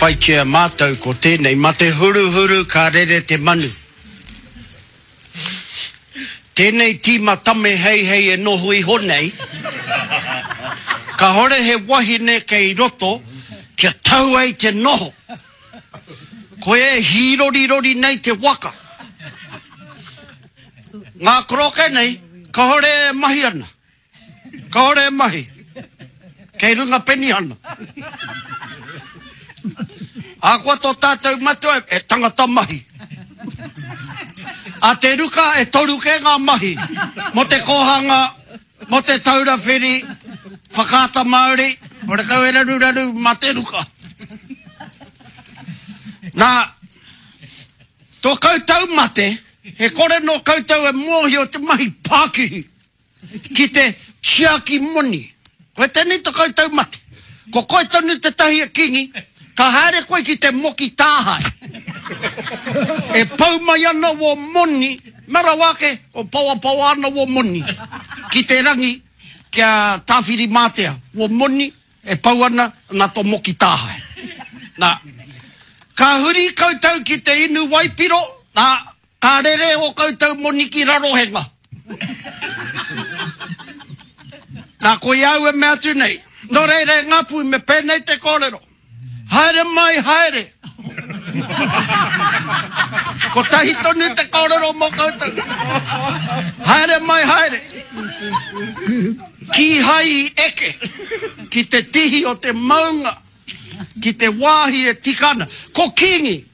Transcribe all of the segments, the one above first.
whaitia mātou ko tēnei, ma te huruhuru ka rere te manu. Tēnei tīma tame heihei e noho iho nei, kahore he wahine kei roto kia tau ai te noho. Koia e hīrorirori nei te waka. Ngā koroke nei, kahore e mahi ana. Kāore e mahi. Kei runga penihana. Ahakoa tō tātou matua e tangata mahi. A Te Ruka e toru kē ngā mahi mō te kōhanga, mō te taura whiri, whakaata Māori, horekau e raruraru mā Te Ruka. Nā, tō koutou mate, he kore nō koutou e mōhio te mahi pākihi. ki te tiaki moni. Koe tēnei to koutou mate. Ko koe tonu tētahi e Kingi, ka haere koe ki te moki tāhae. E pau mai ana wō moni, mea rawa ake, o paoapaoa ana wō moni ki te rangi kia Tāwhirimātea, wō moni e pau ana nā tō moki tāhae. Nā, ka huri koutou ki te inu waipiro, nā, Ka rere ō koutou moni ki Rarohenga. Nā, koia au e mea atu nei. Nō reira e Ngāpuhi, me pēnei te kōrero. Haere mai, haere. Kotahi tonu te kōrero mō koutou. Haere mai, haere. Kīhai i eke ki te tihi o te maunga. Ki te wāhi e tika ana. Ko Kīngi!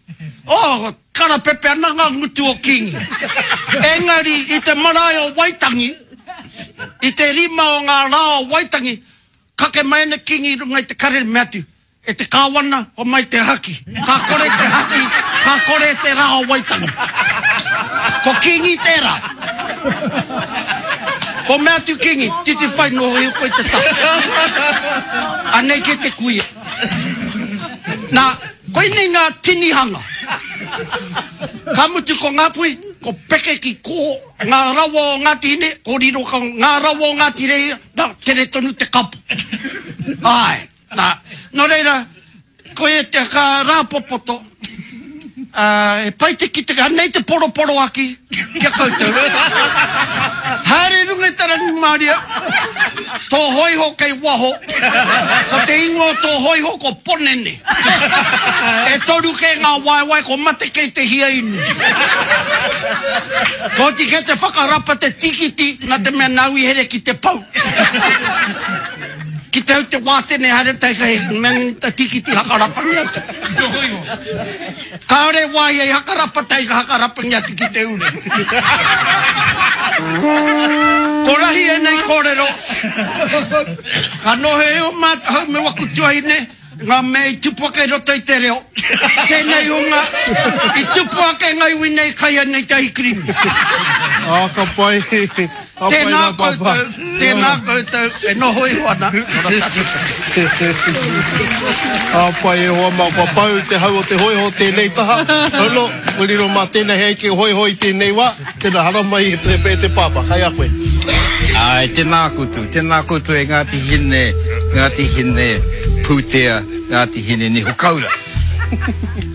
Oh, karapepe ana ngā ngutu o Kīngi. Engari, i te marae o Waitangi, i te rima o ngā rā o Waitangi, kake mai ana Kīngi i runga i te karere, mea atu, E te Kāwana, homai te haki. Ka kore te haki, ka kore te rā o Waitangi. Ko Kīngi tērā. Ko mea atu Kingi, titi whai noho iho koe te taha. Anei ke te kuia. Na, koinei ngā tinihanga. Ka mutu ko Ngāpuhi, ko peke ki kō ngā rawa o Ngāti Hine, ko riro ka ngā rawa o Ngāti Rehia, na, tere tonu te kapo. Āe, na, nō reira, Koia te ka rāpopoto, ā, he pai te kite, anei te poroporoaki ki a koutou. Haere i runga i te rangimārie, tō hōiho kei waho, ko te ingoa o tō hōiho ko Ponene. E toru kē ngā waewae, ko mate kei te hia inu. Kua oti kē te whakarapa te tīkiti, nā te mea nāu i here ki te pou. Ki te au te wātene haere tai kai men ta tikiti hakarapangi atu. Kāore wāhi ai hakarapa tai ka hakarapangi atu ki te ure. Ko rahi ēnei kōrero, ka noho e o mātou me waku tuahine, Ngā mea i tupu ake i roto i te reo. Tēnei hunga i tupu ake ngā iwi nei kai ana i te ahikirimi. Ā, ka pai. Ka pai Tēnā rā, Pāpā. koutou, tēnā koutou e noho iho ana. Ora tātou. Ka pai e hoa mā, kua pau te hau o te hōiho tēnei taha. Hono, kua riro mā tēnei hei eke hōiho i tēnei wā. Tēnā, haramai e te, e te Pāpā, kai a koe. Āe, tēnā koutou, tēnā koutou e Ngāti Hine, Ngāti Hine Pūtea, Ngāti Hine Niho Kaura.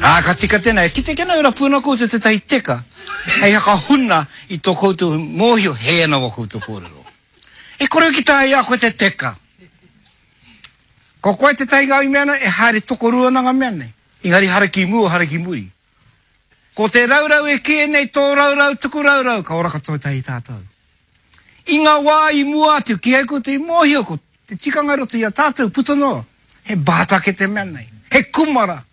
Ā, ka tika tēnā, e kite kena e rapu ana koutou tētahi teka hei hakahuna i tō koutou mōhio hē ana wā koutou kōrero. E kore ki taea i a koe te teka. Ko koe tētahi ngā i mea ana e haere tokorua ana ngā mea nei, engari hara ki mua, hara ki muri. Ko te raurau e kīia nei tō raurau tuku raurau ka ora katoa tahi tātou. I ngā wā i mua atu kīhai koutou i mōhio ko te tikanga i roto i a tātou puta noa he bātake te mea nei, he kumara,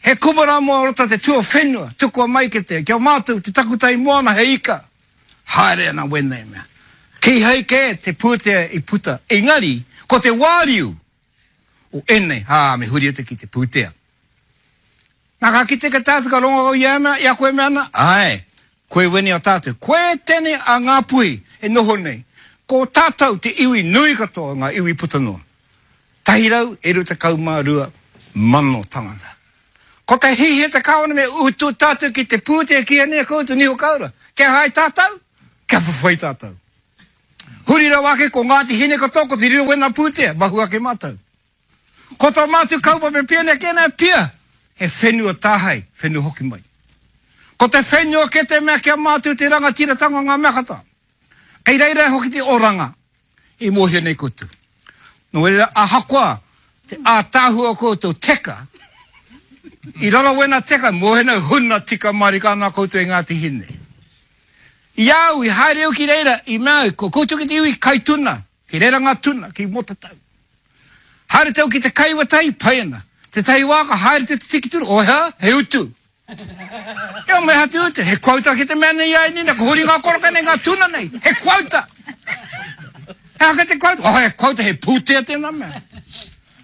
he kumara mō roto te tuawhenua tukua mai ki te kia mātou te takutai moana he ika. Haere ana wēnei mea. Kīhai kē te pūtea i puta engari ko te wāriu o ēnei, ā, me huri atu ki te pūtea. Nā, ka kite ka tātou, ka rongo au i a mea, i a koe mea ana, āe, koe wēnei o tātou, koe tēnei a Ngāpuhi e noho nei, ko tātou te iwi nui katoa o ngā iwi puta noa, 122,000 tangata. Ko te hiahia te Kāwana me utu tātou ki te pūtea ki ēnei koutou niho kaura, kia hae tātou, kia whawhai tātou. Huri rawa ake ko Ngāti Hine katoa ko te riro wēnā pūtea, mahu ake mātou. Ko tō mātou kaupapa e pia nei kē nei pia, he whenua tāhae, whenua hoki mai. Ko te whenua kē te mea ki a mātou te rangatiratanga o ngā mea katoa. Kei reira hoki te oranga i mōhio nei koutou. Nō reira, ahakoa te ātaahua o koutou teka, i raro wena teka, mōhio nei huna tika mārika ana koutou e Ngāti Hine. I a au, i haere au ki reira, i mea au, ko koutou ki te iwi kai tuna, ki reira ngā tuna, ki Motatau. Haere te au ki te kai wetahi, pai ana. Tētahi wā ka haere te tiki tuna, oh hea, he utu. Ea me aha te utu, he quota ki te mea nei ai nina, ko huri ngā koroka nei, ngā tuna nei, he quota. He aha te quota? Oh, he quota, he pūtea tēnā mea.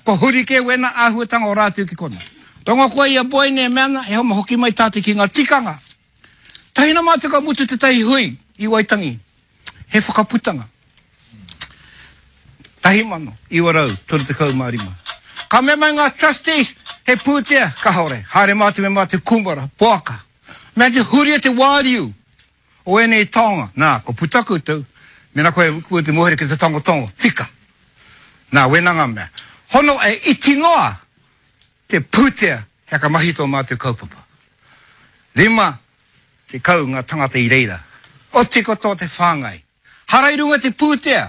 Ko huri kē wēnā āhuatanga o rātou ki kona. Rongo koe i a Boy nei e mea ana, he homa hoki mai tātou ki ngā tikanga. Tahi na mātou ka mutu tētahi hui i Waitangi, he whakaputanga. 1935. Ka mea mai ngā trustees, he pūtea, kahore, haere mātou me mātou kūmara, poaka. Mea te huria te wāriu o ēnei taonga. Nā, ko puta koutou, mena koe koe te mōhio ki te tangotango, whika. Nā, wēnā ngā mea. Hono e iti noa te pūtea he whakamahi tō mātou kaupapa. 50 ngā tangata i reira. Oti katoa te whāngai. Hara i runga te pūtea.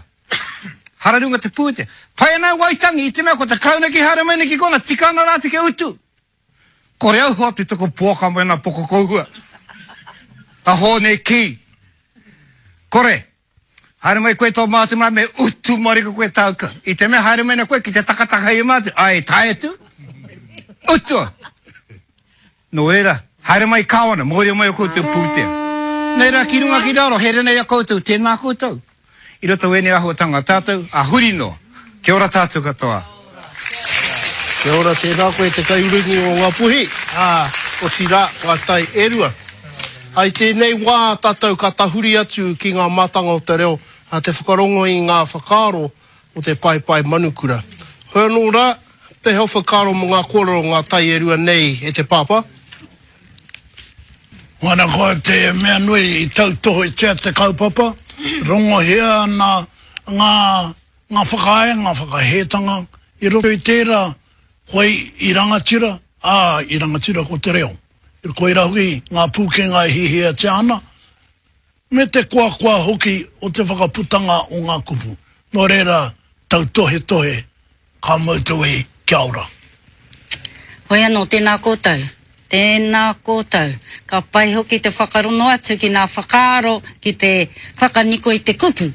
Hara i runga te pūtea. Pai ana e Waitangi i te mea ko te Karauna ki haere mai nei ki kona, tika ana rā te kia utu. Kore au hoatu taku poaka me ana pokokohua. A Hōne kī. Kore. Haere mai koe tō mātou marae me utu marika koe tāu ka. I te mea haere mai nei koe ki te takataka i a mātou, ai tae atu. Utua. Nō reira, haere mai Kāwana, mōhio mai o koutou pūtea. Nei rā ki runga ki raro, here nei a koutou, tēnā koutou. I roto wēnei āhuatanga tātou, a huri noa. Kia ora tātou katoa. Kia ora, tēnā koe te kaiurungi o Ngāpuhi, ā, otirā, ngā tai e rua. Ā, i tēnei wā tātou ka tahuri atu ki ngā mātanga o te reo, ā, te whakarongo i ngā whakaaro o te paepae manukura. Hoi anō rā, pēhea o whakaaro mō ngā kōrero o ngā tai e rua nei e te pāpā? Ana ko te mea nui i tautohetia te kaupapa, rongohia ana ngā Ngā whakaae, ngā whakahētanga i roto i tērā, koe i rangatira, ā, i rangatira ko te reo. Koirā hoki ngā pūkenga e hiahiatia ana, me te koakoa hoki o te whakaputanga o ngā kupu. Nō reira, tautohetohe, ka mau te wehi, kia ora. Hoi anō, tēnā koutou. Tēnā koutou. Ka pai hoki te whakarono atu ki ngā whakaaro ki te whakaniko i te kupu.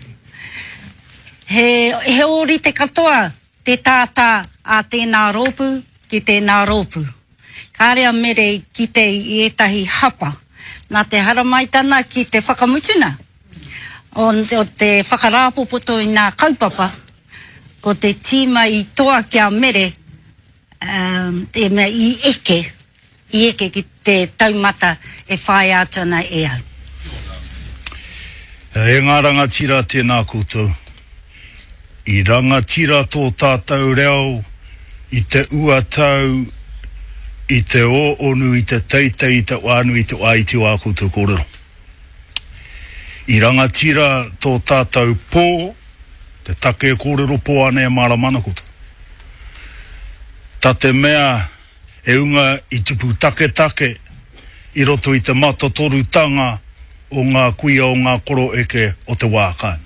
He, he ōrite katoa te tātā a tēnā rōpū ki tēnā rōpū. Kāre a Mere i kite i ētahi hapa. Nā te haramaitana ki te whakamutuna o, o te whakarāpopoto i ngā kaupapa, ko te tīma i toa ki a Mere, e mea i eke, i eke ki te taumata e whāia atu ana e au. E ngā rangatira tēnā koutou. I rangatira tō tātou reo i te ua tau, i te ōonu, i te teitei, i te wānui, i te wā iti o ā koutou kōrero. I rangatira tō tātou pō, te take e kōrero pō ana e mārama ana koutou. Ta te mea e unga i tupu taketake i roto i te matotorutanga o ngā kuia o ngā koroeke o te wā kāinga.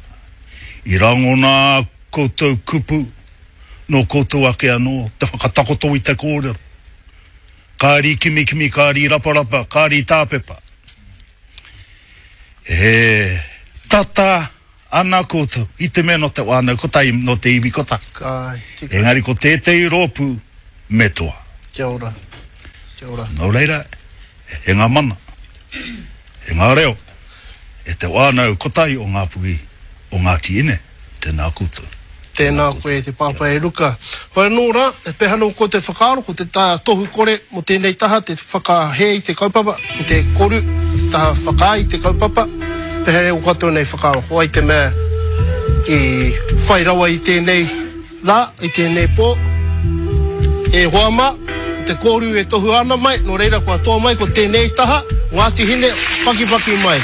I rangona ā koutou kupu nō koutou ake anō te whakatakoto i te kōrero. Kāri kimikimi, kāri raparapa, kāri tāpepa. He tata Ana koutou, i te mea no te whanau kotahi, no te iwi kotahi. Ka tika. Engari ko tētehi rōpū me toa. Kia ora. Kia ora. No reira, e nga mana, e nga reo, e te whanau kotahi o Ngapuhi, o Ngati Ine, tena koutou. Tēnā koe e te pāpā e Ruka. Hoi anō rā, e pēhea anō koutou whakaaro, ko te taha tohu kore mō tēnei taha, te whakahē i te kaupapa, ko te koru, te taha whakaae i te kaupapa, pēhea ō koutou nei whakaaro, ko wai te mea i whai rawa i tēnei rā, i tēnei pō? E hoa mā, ko te koru e tohua ana mai, nō reira kua toa mai ko tēnei taha, Ngāti Hine, pakipaki mai.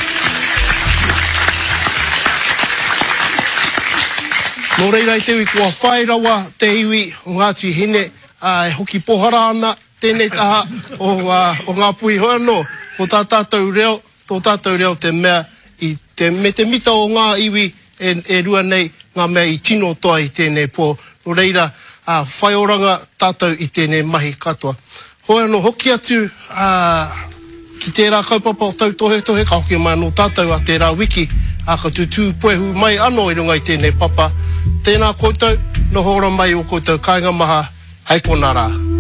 Nō reira i te iwi kua whai rawa te iwi o Ngāti Hine ā, e hoki pohara ana tēnei taha o, ā, o Ngāpuhi. Hoi anō, ko tā tātou reo, tō tātou reo te mea i te, me te mita o ngā iwi e, e rua nei ngā mea i tino toa i tēnei pō. Nō reira, ā, whai oranga tātou i tēnei mahi katoa. Hoi anō, hoki atu, ā, ki tērā kaupapa o tautohetohe, ka hoki mai anō tātou a tērā wiki, ā, ka tutū puehu mai anō i runga i tēnei papa. Tēnā koutou, noho ora mai i ō koutou kāinga maha, hei konā rā.